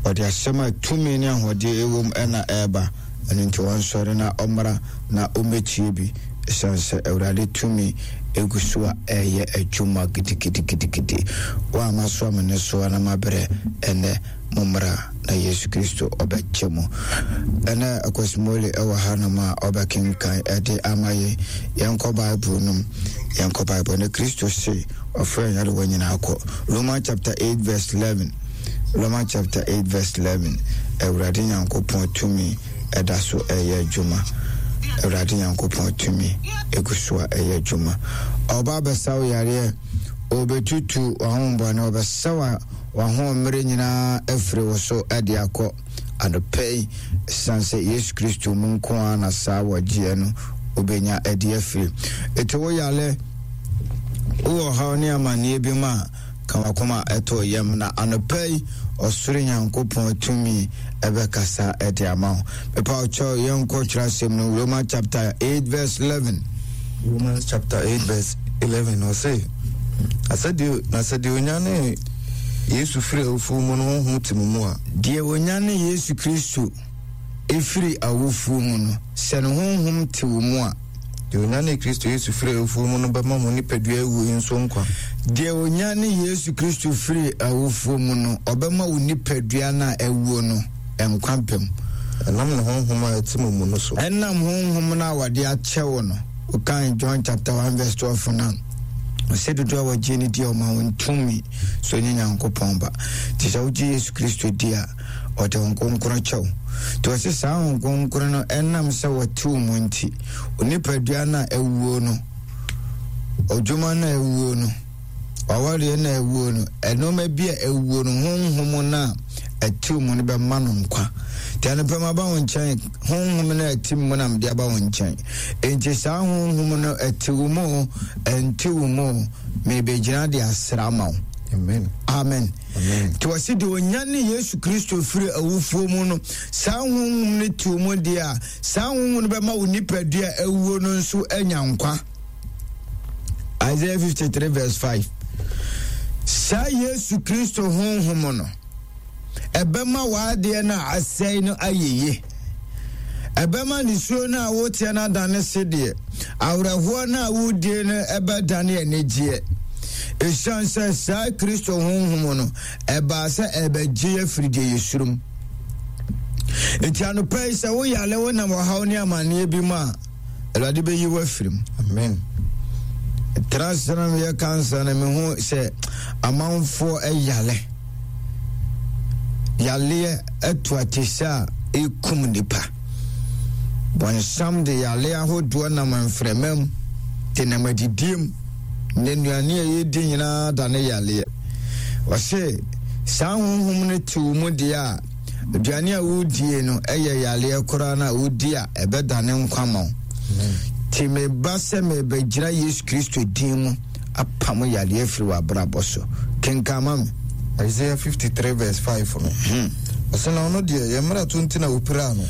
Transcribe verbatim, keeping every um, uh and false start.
Ɔde asɛm a tumi ne ahoɔden ɛwom ɛna ɛreba. Ɛno nti wɔnsɔre na ɔmmra na ɔmmɛtie bi, ɛsiane sɛ Awurade tumi egu so a ɛyɛ adwuma gidigidigidigidi. Wo a masoa me ne soa na mabrɛ, ɛnɛ mommra na Yesu Kristo ɔbɛgye mo. Ɛnɛ Akwasimole ɛwɔ hanom a ɔbɛkenkan ɛde ama yɛn. Yɛnkɔ Bible nom, yɛnkɔ Bible ne Kristo se ɔfrɛ nyarewa nyinaa kɔ. Romans chapter eight verse eleven. Romans chapter eight verse eleven. Awurade Nyankopɔn tumi ɛda so ɛyɛ adwuma. Awurade Nyankopɔn tumi egu so a ɛyɛ adwuma. Ɔba abɛsa wo yareɛ, ɔbɛtutu w'ahombɔne, ɔbɛsa w'ahoɔmmerɛ nyinaa afiri wo so ɛde akɔ. Anɔpɛ yi, ɛsiane sɛ Yesu Kristo mu nko ara na saa wɔgyeɛ no wobɛnya ɛde afiri. Ɛti wo yare, wowɔ ɔhaw ne amanneɛ bi mu a, ka wakoma ɛtɔ yam na anɔpɛ yi ɔsoro Nyankopɔn tumi ɛbɛkasa ɛde ama wo. Mepa wo kyɛw, yɛnkɔ twerɛ asɛm no, Romans chapter eight verse eleven. Romans chapter eight verse eleven, ɔse, na sɛ deɛ onyane Yesu firi awufoɔ mu no honhom te mo mu a, deɛ onyane Yesu Kristo ɛfiri awufoɔ mu no, sɛ ne honhom te wo mu a, deɛ onyane Kristo Yesu firi awufoɔ mu no bɛma mo nipadua awuo yi nso nkwa. Deɛ onyane Yesu Kristo firi awufoɔ mu no, ɔbɛma wo nipadua no a awuo no nkwa pɛm. Ɛnam ne honhom a ɛte mo mu no so. Ɛnam honhom no a wɔde akyɛ wo no. Wokan John chapter one verse twelve no, ɔsɛ dodoɔ a wɔgye ne di a ɔma wɔn tumi so nye Nyankopɔn ba. Nti sɛ wogye Yesu Kristo di a, ɔde Honhom Kronkron kyɛ wo. Nti ɔse saa Honhom Kronkron no ɛnam sɛ wɔte wo mu nti, onipadua no a ɛwuo no, ɔdwuma no a ɛwuo no, ɔwareɛ no a ɛwuo no, ɛnɔɔma bi a ɛwuo no, honhom no a ɛte wo mu no bɛma no nkwa. Nti anɔpɛ ma ba wo nkyɛn, honhom no a ɛte mu na mede aba wo nkyɛn. Enti saa honhom no ɛte wo mu, ɛnte wo mu, mebɛgyina de asra ma wo. Amen. Amen. Amen. Nti wɔse deɛ onyane Yesu Kristo firi awufoɔ mu no, saa honhom no te wo mu deɛ a, saa honhom no bɛma wo nipadua awuo no nso anya nkwa. Isaiah fifty-three verse five. Saa Yesu Kristo honhom no, ɛbɛma w'adeɛ no a asɛe no ayɛ yie. Ɛbɛma nisuo no a woteɛ no adane sedeɛ. Awerɛhoɔ no a wodie no ɛbɛdane anigyeɛ. Ɛsiane sɛ saa Kristo honhom no, ɛbaa sɛ ɛbɛgye afiri deɛ yɛsuro mu. Nti anɔpa yi sɛ woyale wonam ɔhaw ne amanneɛ bi mu a, Awurade bɛyi wo afiri mu. Amen. Tena ase na meyɛ kansa na mehu sɛ amanfoɔ ɛyale. Yaleɛ ɛto atese a ɛkum nipa. Bɔnsam de yale ahodoɔ nam mframa mu, de nam adidie mu, ne nnuane a yɛdi nyinaa da ne yaleɛ. Ɔse saa honhom no te wo mu deɛ a, aduane a wodie no ɛyɛ yaleɛ koraa na wodi a ɛbɛdane nkwa ma wo. Nti meba sɛ mebɛgyina Yesu Kristo din mu apam yaleɛ afiri w'abrabɔ so. Kenkan ma me. Isaiah fifty-three verse five no. Hmm. Ɔsɛ na ɔno deɛ yɛn mmarato nti na wɔpiraa no.